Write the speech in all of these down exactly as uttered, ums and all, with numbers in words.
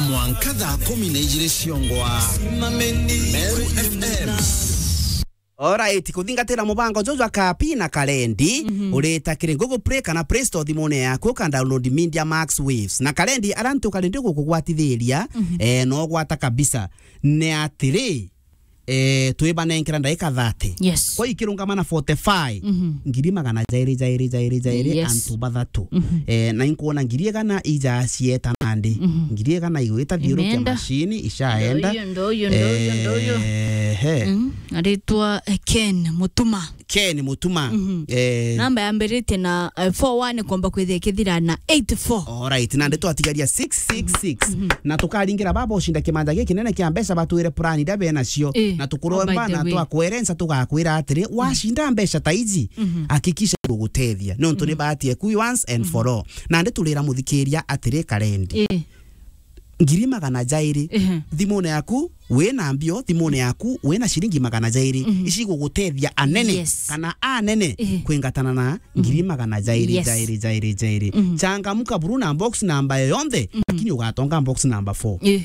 Mwanka thaa kumi na ijiri ciongwa. Meru F M. Alright, kuthingatira mubango juju jwa Kapi na Kalendi, mhm, urita kiri Google Play kana Play Store thimune yaku, uka download Media Max Waves. Na Kalendi, aria ntu Kalendi gukugwatithiria, mhm, eh, no gwata kabisa. Ni atiri, eh, twibanenkera ndaika thirty. Yes. Kwa ikirungama na forty-five, mhm, ngiri magana jairi, jairi, jairi, jairi, yes, antu bathatu. Mhm. Eh, na inkuona ngiri igana ija cieta nandi. Mhm. Ngiri igana igwita thiurukia imeenda. Mashini, icaenda. Ndo uyu, ndo uyu, ndo uyu, ndo uyu. Ehe. Mm, aritwa, eh, Ken Mutuma. Ken Mutuma. Mhm. Eh. Namba yambiritie na, eh, four one, komba kwithia ikithira na eight four. Alright, nandi twatigaria six six six. Mhm. Na tukaringira baba ucinda kimanja giki kinene kia mbeca batwire plan iria benacio. Eh, na tukuromba, oh, by the na way, twakwerenca tugakwira atiri, mm, wacinda mbeca ta iji, mhm, hakikisha gugutethia. Nontu ni, mhm, bahati eku once and, mhm, for all. Nandi turira muthikiria atiri, Kalendi. Eh. Ngiri magana jairi. Ehe. Thimune yaku, wina mbio, thimune yaku, wina ciringi magana jairi. Mhm. Ici igugutethia anene, yes, kana anene, ehe, kwingatana na, mhm, ngiri magana jairi, yes, jairi, jairi, jairi. Mhm. Changamuka buru na box namba yoyonthe, mhm, lakini ugatonga box namba four. Eh.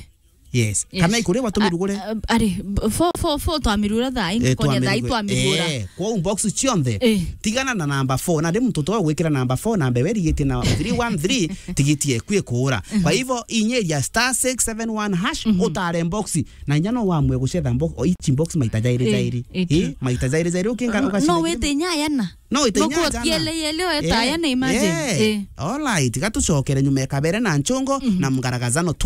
Yes. Yes. Kana ikurigwa tumirugure? A-, a-, ari, b-, four, four, four twamirura thaa, eh, ingi konya thaa twamirugure. Twamirura. Eh, kwa box cionthe. Eh. Tigana na namba four. Na ndi muntu to gwikira namba four, namba iwe rigite na three one three, tigiti eku ikuura. Mhm. Kwa hivyo, inyeria star six seven one hash, mhm, utare box. Na inya no wamwe gucetha box, o each box maita jairi, eh, jairi. Eh, eh, true. Maita jairi, jairi, ukinga, no, ugacinda no wite inya yana. No, ite inya jana. Yele, yele, weta, eh, yana, imagine. Eh. Eh. Alright, gatucokere nyuma ya kabere na nchongo, mhm, na mgaragazano tu.